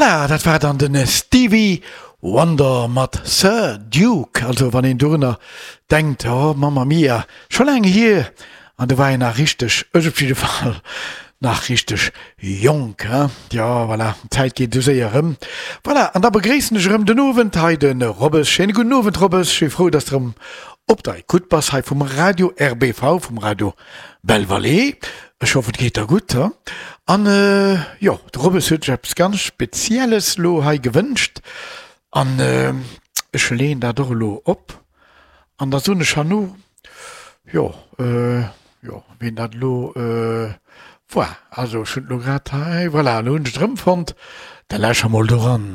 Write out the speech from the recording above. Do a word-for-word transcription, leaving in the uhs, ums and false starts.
Voilà, dat war dann den Stevie Wonder mat Sir Duke. Also wann een dorunner denkt, oh Mamma Mia, scho laang hier, an do war een nach richteg, ech op jidde Fall, nach richteg jonk, hein. Jo, voilà, d'Zäit geet esou séier erëm. Voilà, an da begréissen ech erëm den Owend hei de Robbes. Schéine gudden Owend, Robbes. Ech si frou, dass de erëm op der Ecoute bass hei vum Radio R B V, vum Radio Belle Vallée. Ech hoffen, et geet der gutt, hein. An jo, de Robbes huet sech eppes ganz Spezielles elo hei gewënscht an ech leeën dat och elo op an da soen ech herno, jo, jo, wien dat elo war. Also ech hunn et elo grad hei, voilà, elo hunn ech et erëmfonnt. Da lauschteren mer mol doran.